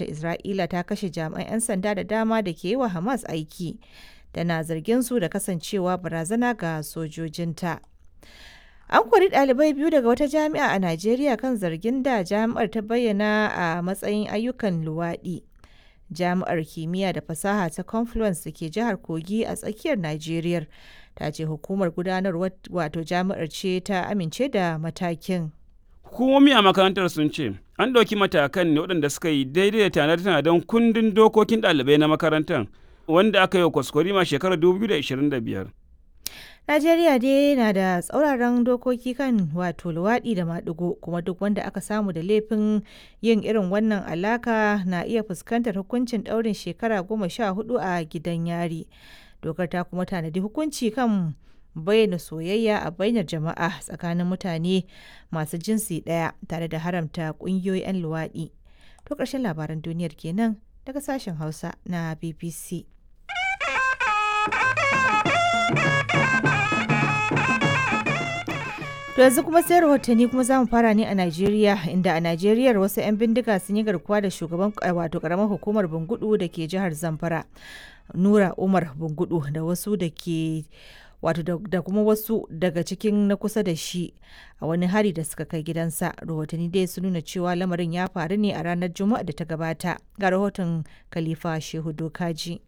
Gwamnatin Isra'ila ta kashe jami'an 'yan sanda da dama da ke yi wa Hamas aiki, tana zargin su da kasancewa barazana ga sojojinta. An kori ɗalibai biyu daga wata jami'a a Najeriya kan zargin da jami'ar ta bayyana a matsayin ayyukan luwaɗi. Jami'ar Kimiyya da Fasaha ta Confluence da ke jihar Kogi a tsakiyar Najeriya ta ce hukumar gudanarwar wato jami'ar ce ta amince da matakin. Hukumomi a makarantar sun ce an ɗauki matakan ne waɗanda suka yi daidai da tanade-tanaden kundin dokokin ɗalibai na makarantar wanda aka yi wa kwaskwarima shekarar 2025. Najeriya dai na da tsauraran dokoki kan wato luwaɗi da maɗigo, kuma duk wanda aka samu da laifin yin irin wannan alaka na iya fuskantar hukuncin ɗaurin shekara 14 a gidan yari. Dokar ta kuma tanadi hukunci kan bayyana soyayya a bainar jama'a tsakanin mutane masu jinsi ɗaya tare da haramta ƙungiyoyin 'yan luwaɗi. To ƙarshen labaran duniyar kenan daga sashen Hausa na BBC. To yanzu kuma sai rahotanni, kuma za mu fara ne a Najeriya, inda a Najeriya wasu 'yan bindiga sun yi garkuwa da shugaban wato karamar hukumar Bungudu da ke jihar Zamfara, Nura Umar Bungudu, da wasu da ke wato da kuma wasu daga cikin na kusa da shi a wani hari da suka kai gidansa. Rahotanni dai sun nuna cewa lamarin ya faru ne a ranar Juma'a da ta gabata. Ga rahoton Khalifa Shehu Dokaji.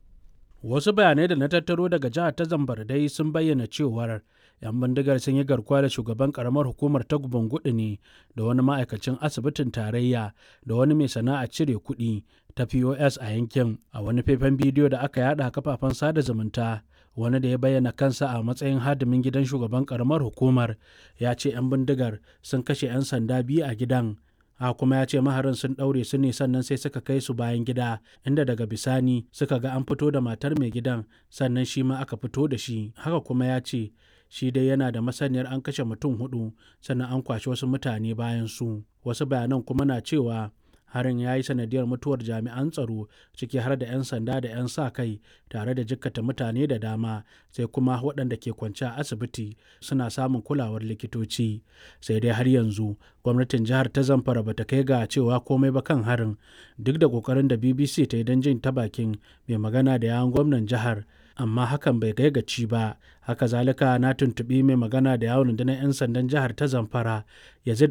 Wasu bayanai da na tattaro daga jihar ta Zamfara dai sun bayyana cewar 'yan bindigar sun yi garkuwa da shugaban karamar hukumar ta Bungudu ne da wani ma'aikacin asibitin tarayya da wani mai sana'a cire kuɗi ta POS a yankin. A wani faifan bidiyo da aka yada kafafen sada zumunta, wani da ya bayyana kansa a matsayin hadimin gidan shugaban karamar hukumar ya ce 'yan bindigar sun kashe 'yan sanda biyu a gidan. A kuma ya ce maharin sun ɗaure su ne, sannan sai suka kai su bayan gida, inda daga bisani suka ga an fito da matar mai gidan, sannan shi ma aka fito da shi. Haka kuma ya ce shi dai yana da masaniyar an kashe mutum hudu, sannan an kwashi wasu mutane bayan su. Wasu bayanan kuma na cewa harin ya yi sanadiyar mutuwar jami'an tsaro, ciki har da 'yan sanda da 'yan sa kai, tare da jikkata mutane da dama, sai kuma waɗanda ke kwance a asibiti suna samun kulawar likitoci. Sai dai har yanzu gwamnatin jihar ta Zamfara ba ta kai ga cewa komai ba kan harin, duk da kokarin da BBC ta yi don jin ta bakin mai magana da yawun gwamnan jihar, amma hakan bai kai gaci ba. Haka zalika na tuntuɓi mai magana da yawun rundunar 'yan sandan jihar ta Zamfara, Yazid